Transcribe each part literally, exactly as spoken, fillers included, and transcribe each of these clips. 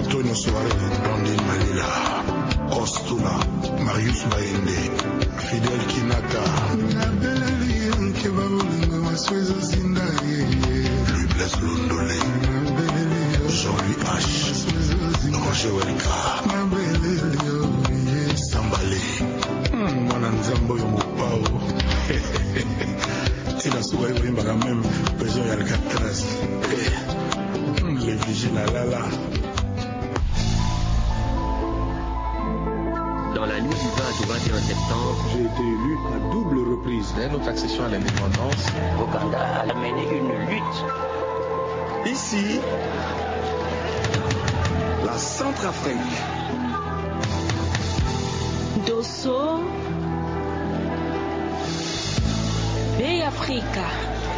Tonio Soare, Blondine Malila, Ostula, Marius Bayende, Fidel Kinaka. Nabeleli yo, nkeba bolingo, maso ezozinda ye. Louis Blaise Londole, Nabeleli yo, Jean-Louis H, maso ezozinda. Roger Welka, Nabeleli yo, ye. Sambale. Hmm, mwana Nzambe oyo mopao. Ti na suka yo koyembaka même besoin ya Alcatraz. Eh, hmm, le vigile alala. Dans la nuit du vingt au vingt et un septembre, j'ai été élu à double reprise. Dès notre accession à l'indépendance, Ouganda a mené une lutte. Ici, la Centrafrique. Dosso. Be Afrika.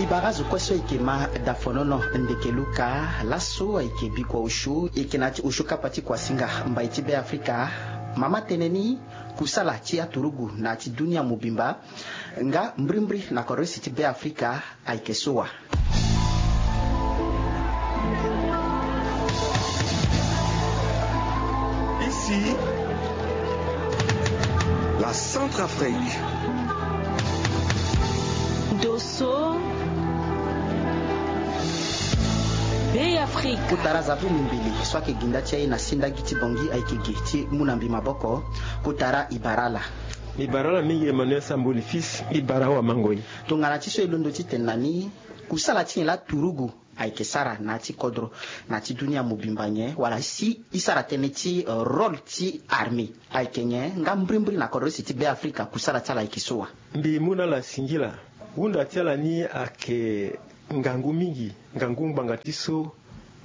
Ibara zo kue so eke ma dafonono ndeke luka laso ayeke bikua osio eke na ti osio kapa ti kuasinga mbai ti Be Afrika. Mama tënë ni kusala ti aturugu na ti dunia mobimba. Nga mbrimbri na kodro isi ti Be Afrika ayeke so wa. Ici, la Centrafrique. Dosso. Be Afrika. Kotara zabu mimbili so ayeke gi nda ti aye na sendagi ti Bangui ayeke gi ti mu na mbi maboko. Kotara ibara ala. Ibara ala mingi Emmanuel Samboli fils, ibara awa mango ye. Tongana ti so e londo ti tene na ni, kusala ti nyen laa turugu ayeke sara na ya ti kodro na ya ti dunia mobimba nyen, wala si e sara tënë ti, eh, rôle ti armée ayeke nyen, nga mbrimbri na kodro isi ti Be Afrika kusala ti ala ayeke so wa. Mbi mu na ala singila. Hunda ti ala ni ayeke ngangu mingi, ngangu ngbanga ti so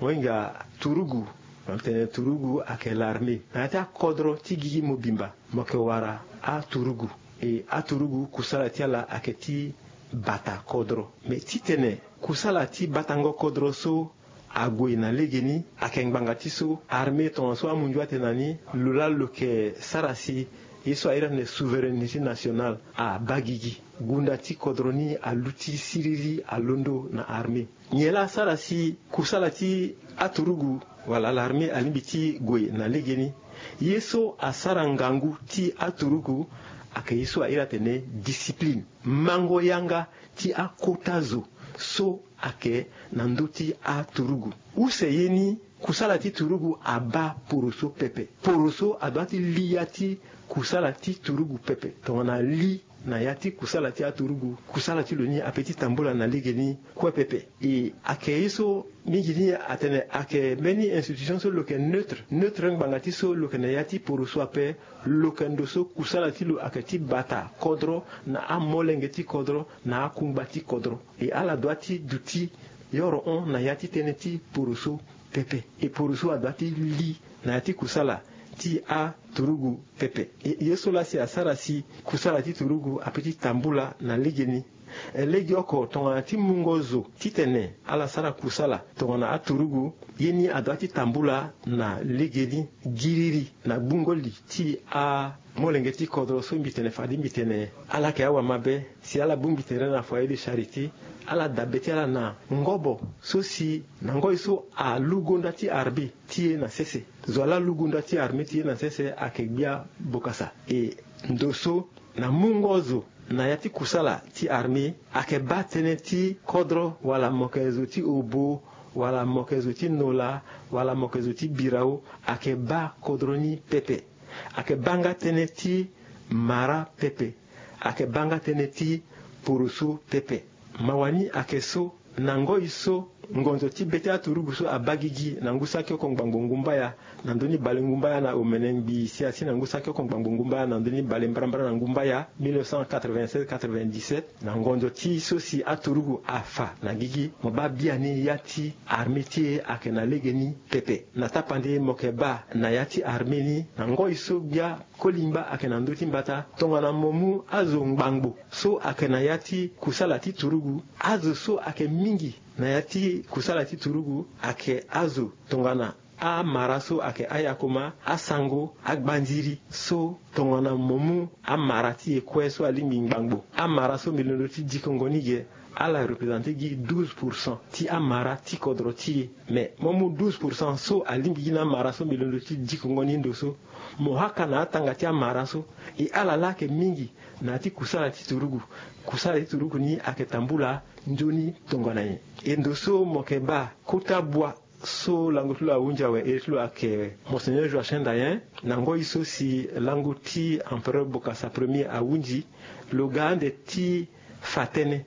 mo hinga turugu. Na tene turugu ayeke l'armée na ya ti akodro ti gigi mobimba. Mo yeke wara aturugu. E aturugu kusala ti ala ayeke ti bata kodro. Me titene kusala ti batango kodro so ague na legeni ayeke ngbanga ti so armée tongaso amunzu atene na ni lo laa lo yeke sara si ye so a iri atene souveraineté nationale abaa gigi. Gunda ti kodro ni aluti siriri alondo na armée. Nyen laa asara si kusala ti aturugu wala l'armée alingbi ti gue na legeni? Ye so asara ngangu ti aturugu ayeke ye so a iri atene discipline. Mango yanga ti akota zo so ayeke na ndö ti aturugu. Use ye ni, kusala ti turugu abaa poroso pepe. Poroso adoit ti li ya ti kusala ti turugu pepe. Tongana li na ya ti kusala ti aturugu, kusala ti lo ni ape ti tambula na legeni kue pepe. E ayeke ye so mingi ni atene ayeke mbeni institution so lo yeke neutre. Neutre ngbanga ti so lo yeke na ya ti poroso ape. Lo yeke ndo so kusala ti lo ayeke ti bata kodro na amolenge ti kodro na akungba ti kodro. E ala doit ti duti yoro hon na ya ti tënë ti poroso pepe. E poroso adoit ti li na ya ti kusala ti aturugu pepe. E ye so laa si asara si kusala ti turugu ape ti tambula na legeni. E legeoko tongana ti mungo zo titene ala sara kusala tongana aturugu, ye ni adoit ti tambula na legeni giriri na gbungo li ti amolenge ti kodro so mbi tene fade mbi tene ala yeke awamabe. Si ala bongbi tere na foyer de charité, ala dabe ti ala na ngobo so si na ngoi so alu gonda ti armée ti e na sese. Zo ala lu gonda ti armée ti e na sese ayeke gbia bokasa. E ndo so na mungo zo na ya ti kusala ti armée ayeke baa tënë ti kodro wala mo yeke zo ti obo wala mo yeke zo ti nola wala mo yeke zo ti birao, ayeke baa kodro ni pepe. Ayeke baa nga tënë ti mara pepe. Ayeke baa nga tënë ti poroso pepe. Mawa ni ayeke so na ngoi so ngonzo ti be ti aturugu so abaa gigi na ngu saki oko ngbangbo ngumbaya na ndö ni bale ngumbaya na omene ngbii si asi na ngu saki oko ngbangbo ngumbaya na ndö ni bale mbarambara na ngumbaya mille neuf cent quatre-vingt-seize quatre-vingt-dix-sept. Na ngonzo ti so si aturugu afa na gigi, mo baa biani ya ti armée ti e ayeke na legeni pepe. Na tapande mo yeke baa na ya ti armée ni na ngoi so gbia Kolingba ayeke na ndö ti mbata tongana mo mu azo ngbangbo so ayeke na ya ti kusala ti turugu. Azo so ayeke mingi na ya ti kusala ti turugu ayeke azo tongana amara so ayeke ayakoma, asango, agbanziri so tongana mo mu amara ti e kue so alingbi ngbangbo. Amara so mbi londo ti dikongo ni ge Ala represente gi douze pourcent ti amara ti kodro ti e. Mais mo mu douze pourcent so alingbi gi na amara so mbi londo ti dikongo ni ndo so, mo haka na atanga ti amara so. E ala laa ayeke mingi na ya ti kusala ti turugu. Kusala ti turugu ni ayeke tambula nzoni tongana nyen? E ndo so mo yeke baa kota bua so lango ti lo ahunzi awe, iri ti lo ayeke Monseigneur Joachim Dayen. Na ngoi so si lango ti Empereur Bokassa premier ahunzi, lo ga ande ti fa tënë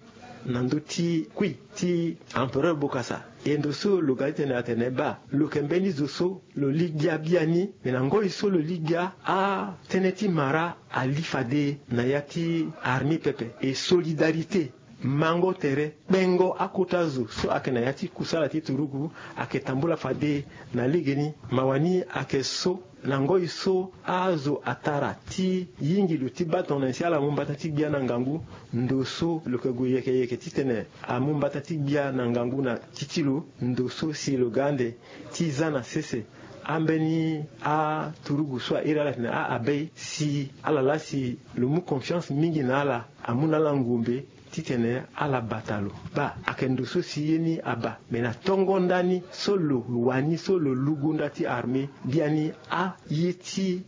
na ndö ti kui ti Empereur Bokassa. E ndo so lo ga ti tene atene baa lo yeke mbeni zo so lo li gbia biani. Me na ngoi so lo li gbia, atënë ti mara ali fade na ya ti armée pepe. E solidarité, mango tere, kpengo akota zo so ayeke na ya ti kusala ti turugu ayeke tambula fade na legeni. Mawa ni ayeke so na ngoi so azo atara ti yingi lo ti baa tongana nyen si ala mu mbata ti gbia na ngangu, ndo so lo yeke gue yeke yeke titene amu mbata ti gbia na ngangu na ti ti lo, ndo so si lo ga ande ti za na sese ambeni aturugu so a iri ala tene a-abbé si ala laa si lo mu confiance mingi na ala, amu na ala ngombe titene ala bata lo. Baa ayeke ndo so si ye ni abaa. Me na tongo ndani so lo wani so lo lu gonda ti armée biani, aye ti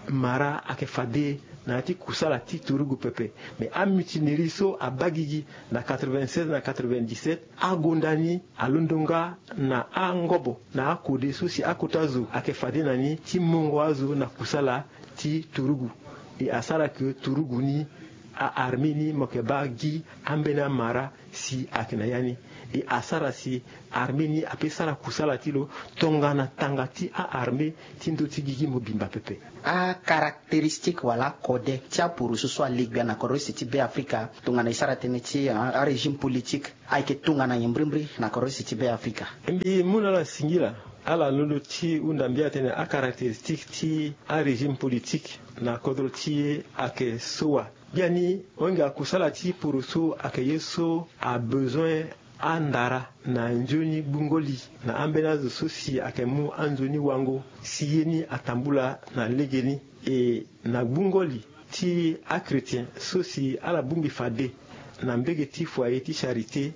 mara ayeke fade na ya ti kusala ti turugu pepe. Me amutinerie so abaa gigi na quatre-vingt-seize na quatre-vingt-dix-sept, agonda ni alondo nga na angobo na akode so si akota zo ayeke fade na ni ti mongo azo na kusala ti turugu. E asara ke turugu ni, a-armée ni mo yeke baa gi ambeni amara si ayeke na ya ni. E asara si armée ni ape sara kusala ti lo tongana tanga ti a-armée ti ndö ti gigi mobimba pepe. Akarakteristike wala akode ti apurusu so ale gbia na korose ti Be Afrika tongana e sara tënë ti, ah, arégime politique ayeke tongana nyen mbrimbri na korose ti Be Afrika? Mbi mu na ala singila, ala londo ti hunda mbi atene akarakteristike ti arégime politique na kodro ti e ayeke so wa. Biani, honga kusala ti poroso ayeke ye so abezoin andara na nzoni gbungo li na ambeni azo so si ayeke mu anzoni wango si ye ni atambula na legeni. E na gbungo li ti achrétien so si ala bongbi fade na mbege ti foyer ti charité,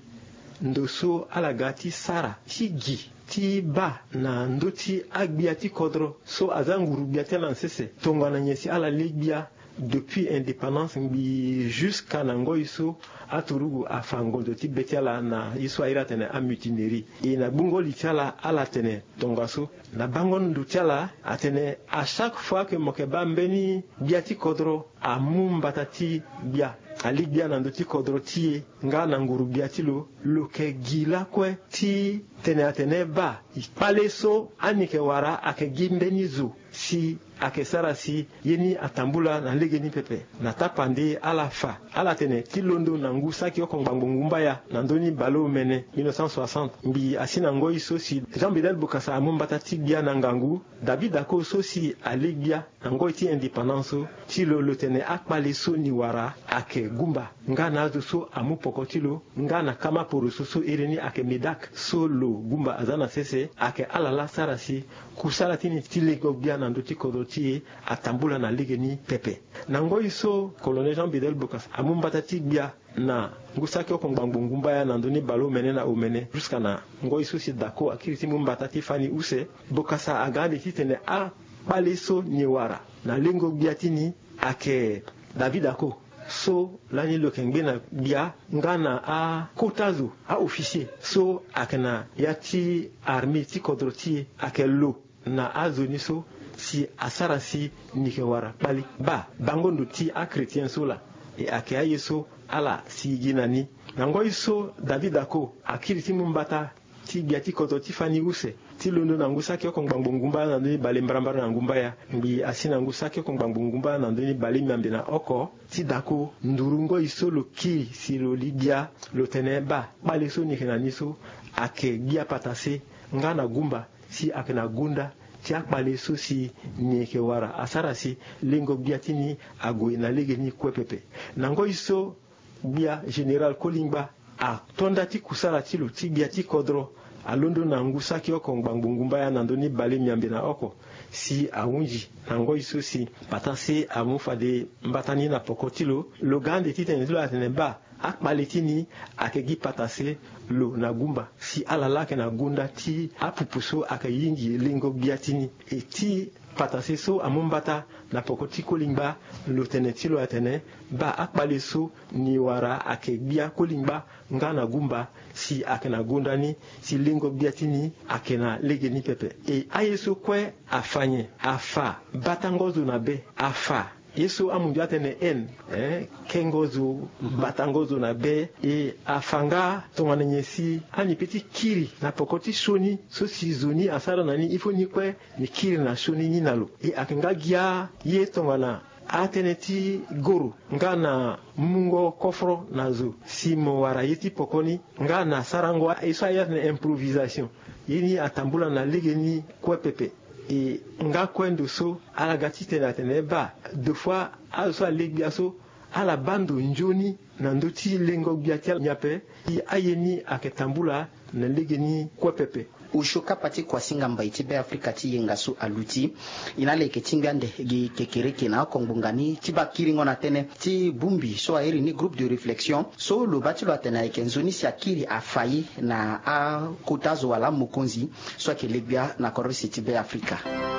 ndo so ala ga ti sara ti gi ti baa na ndö ti agbia ti kodro so aza nguru gbia ti ala na sese tongana nyen si ala lê gbia depuis indépendance ngbii jusqu'à na ngoi so aturugu afa ngonzo ti be ti ala na ye so a iri atene amutinerie. E na gbungo li ti ala ala tene tongaso na bango ndo ti ala atene à chaque fois que mo yeke baa mbeni gbia ti kodro amu mbata ti gbia, alê gbia na ndö ti kodro ti e nga na nguru gbia ti lo, lo yeke gi lakue ti tene atene baa kpale so ani yeke wara ayeke gi mbeni zo si ayeke sara si ye ni atambula na legeni pepe. Na tapande ala fa ala tene ti londo na ngu saki oko ngbangbo ngumbaya na ndö ni baleomene mille neuf cent soixante ngbii asi na ngoi so si Jean Bedel Bokassa amu mbata ti gbia na ngangu, David Ako so si alê gbia na ngoi ti indépendance so ti lo, lo tene akpale so ni wara ayeke gumba nga na azo so amu poko ti lo nga na kama poroso so iri ni ayeke MEDAC so lo gumba aza na sese. Ayeke ala laa sara si kusala ti ni ti lengo gbia na ndö ti kodro ti e atambula na legeni pepe. Na ngoi so Colonel Jean Bedel Bokassa amu mbata ti gbia na ngu saki oko ngbangbo ngumbaya na ndö ni baleomene na omene jusqu'à na ngoi so si Dako akiri ti mu mbata ti fani use, Bokassa aga ande titene akpale so ni wara na lengo gbia ti ni ayeke David Ako so lani lo yeke ngbe na gbia nga na akota zo, a-officier so ayeke na ya ti armée ti kodro ti e ayeke lo na azo ni so si asara si ni yeke wara kpali. Baa bango ndo ti achrétien so laa, e ayeke aye so ala sigi gi na ni. Na ngoi so David Ako akiri ti mu mbata ti gbia ti kodro ti fani use ti londo na ngu saki oko ngbangbo ngumbaya na ndö ni bale mbarambara na ngumbaya ngbii asi na ngu saki oko ngbangbo ngumbaya na ndö ni bale miambe na oko, ti Dako nduru ngoi so lo kiri si lo li gbia, lo tene baa kpale so ni yeke na ni so ayeke gbia patase nga na gumba si ayeke na gonda ti akpale so si ni yeke wara asara si lengo gbia ti ni ague na legeni kue pepe. Na ngoi so gbia général Kolingba ato nda ti kusala ti lo ti gbia ti kodro alondo na ngu saki oko ngbangbo ngumbaya na ndö ni bale miambe na oko si ahunzi na ngoi so si patase amu fade mbata ni na poko ti lo, lo ga ande titene ti lo atene baa akpale ti ni ayeke gi patase lo na gumba si ala laa ayeke na gonda ti apupu so ayeke yingi lengo gbia ti ni. E ti patase so amu mbata na poko ti kolingba, lo tene ti lo atene baa akpale so ni wara ayeke gbia kolingba nga na gumba si ayeke na gonda ni, si lengo gbia ti ni ayeke na legeni pepe. E aye so kue afa nyen? Afa batango zo na be, afa ye so amundu atene haine, eh, kengo zo, batango zo na be. E afa nga tongana nyen si ani pe ti kiri na poko ti sioni so si zo ni asara na ni, il faut ni kue ni kiri na sioni ni na lo. E ayeke nga gi aye tongana atënë ti goro nga na mungo koforo na zo si mo wara ye ti poko ni nga na sarango ye so aye atene improvisation. Ye ni atambula na legeni kue pepe. E nga kue ndo so ala ga ti tene atene baa deux fois azo so ale gbia so ala baa ndo nzoni na ndö ti lengo gbia ti ala nyen ape. E aye ni ayeke tambula na legeni kue pepe. Osio kapa ti kuasinga mbai ti Beafrika ti yenga so aluti. E na ala yeke ti ngbia ande gi kekereke na oko ngbonga ni ti baa kiringo na tënë ti bongbi so airi ni groupe de réflexion so lo baa ti lo atene ayeke nzoni si akiri afa ye na akota zo wala amokonzi so ayeke le gbia na kodro si ti Beafrika.